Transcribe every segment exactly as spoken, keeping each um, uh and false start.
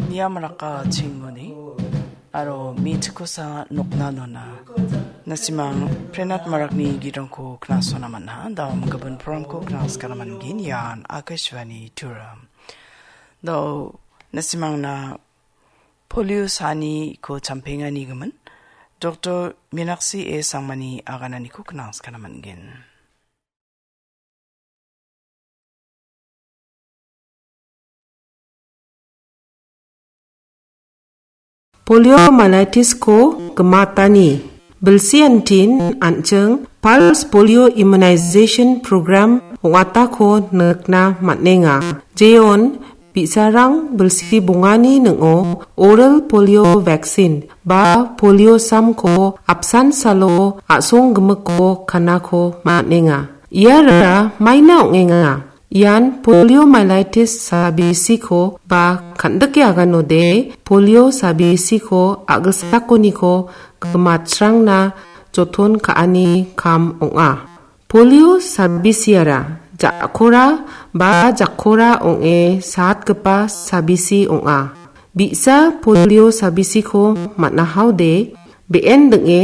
Niam raka chingoni, aro mi chikosa nokna nona. Nasimang Prenat Marakni gitrangko knasona manha, dao mengkebun programko knas kanaman gin ian Akashvani Turam. Dao nasimang na polio sani ko champengani gimin, Doktor Minaksi E Sangmani aganani ko knas kanaman gin. Poliomyelitis-ko gimatani bilsi antin an·ching Pulse Polio Immunization Program ong·atako nikna man·enga. Jeon bi·sarang bilsi bongani ning·o oral polio vaccine ba polio samko apsan salo a·song gimikko kanako man·enga. Iara maina ong·enga. Ian poliomyelitis sabisiko ba kan·dike aganode polio sabisiko a·gisakoniko gimatsrangna joton ka·ani kam ong·a. Polio sabisiara ja·kora ba jakkora ong·e satgipa sabisi ong·a. Bi·sa polio sabisiko man·ahaode be·en ding·e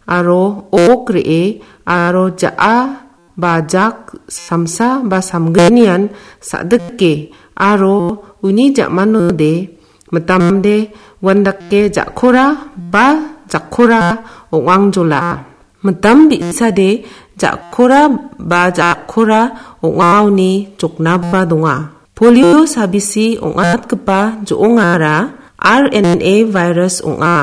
aro ok re·e aro ja·a ba jak samsa ba samgnian sa·dike aro uni ja·manode mitamde uandake ja·kora ba jakkora ong·angjola. Mitam bi·sade ja·kora ba jakkora ong·aoni joknaba donga. Polio sabisi ong·atgipa jo·ongara R N A virus ong·a.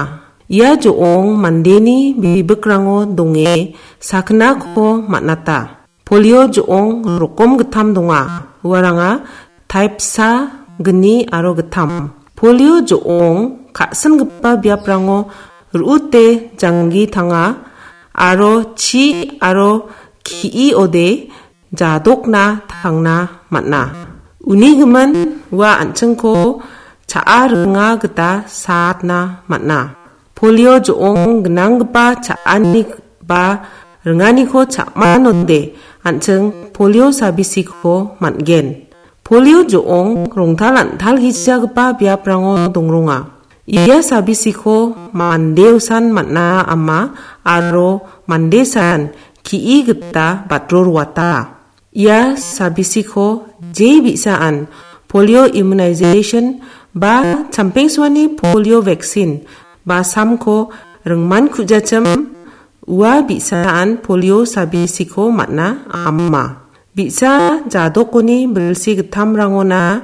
Ia jo·ong mandeni bibikrango donge sakgnako man·ata. Polio jo·ong rokom gittam donga. Uaranga taipsa, gni aro gittam. Polio jo·ong ka·singipa biaprango ru·ute janggi tanga aro chi aro ki·ode jadokna tangna man·a. Uni gimin ua an·chingko cha·a ringa gita saatna man·a. Polio jo·ong gnanggipa cha·ani ba ringaniko cha·manode an·ching polio sabisiko man·gen. Polio jo·ong rongtal an·talgijagipa biaprango dongronga. Ia sabisiko mande usan man·a ama aro mande san ki·i gita batro roata. Ia sabisiko je bi·saan polio immunization ba champengsuani polio vaccine ba samko ringman ku·jachim ua bi·saan polio sabisiko man·a ama. Bi·sa jadokoni bilsi gittamrangona